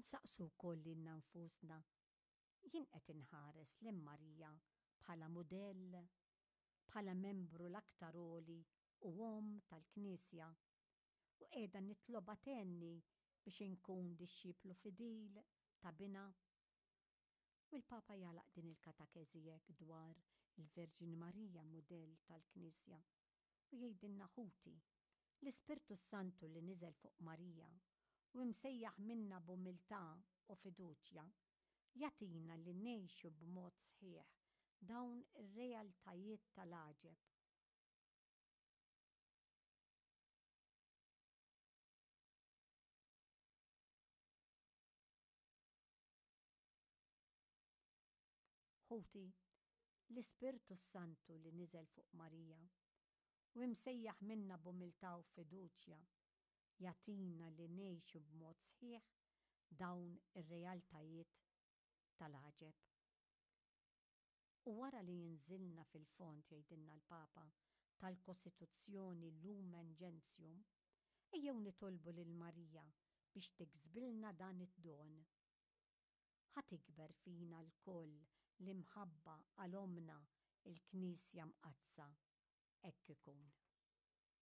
Insaqsu wkoll lilna nfusna, jien qed inħares lejn Marija bħala mudell, bħala membru l-aktar għoli u omm tal-Knisja, u qiegħda nitlobha tgħinni biex inkun dixxiplu fidil ta' Binha? U l-Papa jagħlaq din il-katakeżi hekk dwar il-Verġni Marija mudell tal-Knisja u jgħidilna ħuti, l-Ispirtu s-Santu li niżel fuq Marija u imsejjaħ minna b'umiltà u fiduċja, jagħtina li ngħixu b'mod sħiħ dawn ir-realtajiet tal-għaġeb. Ħuti, l-Ispirtu s-Santu li niżel fuq Marija u imsejjaħ minna b'umiltà u fiduċja, jagħtina li ngħixu b'mod sħiħ dawn ir-realtajiet tal-għaġeb. U wara li inżilna fil-fond, jgħidilna l-Papa, tal-Kostituzzjoni Lumen Gentium, ejjew nitolbu lil Marija biex tiksbilna dan id-don. Ħa tikber fina lkoll l-imħabba għal Ommna l-Knisja Mqaddsa. Hekk ikun.